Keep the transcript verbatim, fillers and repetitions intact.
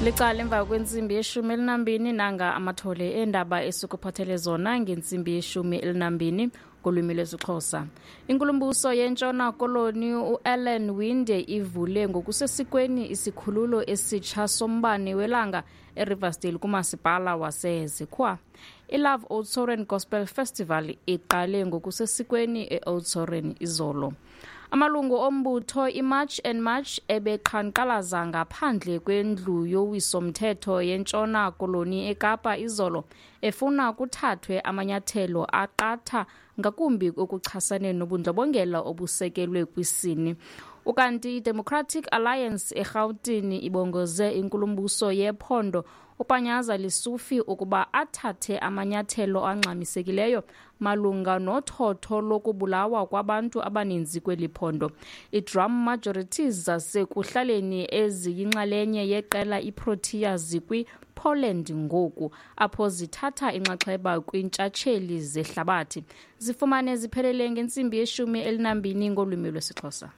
Licala emva kwentsimbi yeshumi elinambini. Nanga amathole eendaba esikuphathele zona ngentsimbi yeshumi elinambini ngolwimi lwesiXhosa. Inkulumbuso yeNtshona Koloni uAllan Winde ivule ngokusesikweni isikhululo esitsha sombane welanga eRiversdale kumasipala waseZikhwa. ILove Oudtshoorn Gospel Festival iqale ngokusesikweni eOudtshoorn izolo. Amalungu ombutho iMarch and March ebeqhankqalaza ngaphandle kwendlu yowiso-mthetho yeNtshona Koloni eKapa izolo, efuna kuthathwe amanyathelo aqatha ngakumbi okuchasene nobundlobongela obusekelwe kwisini. Ukanti iDemocratic Alliance eRhawutini ibongoze inkulumbuso yephondo uPanyaza Lesufi ukuba athathe amanyathelo angxamisekileyo malunga nothotho lokubulawa kwabantu abaninzi kweli phondo. I-Drum Majorities zasekuhlaleni eziyinxalenye yeqela iProtea zikwi-Poland ngoku, apho zithatha inxaxheba kwiintshatsheli zehlabathi. Zifumane ziphelele ngentsimbi yeshumi elinambini ngolwimi lwesiXhosa.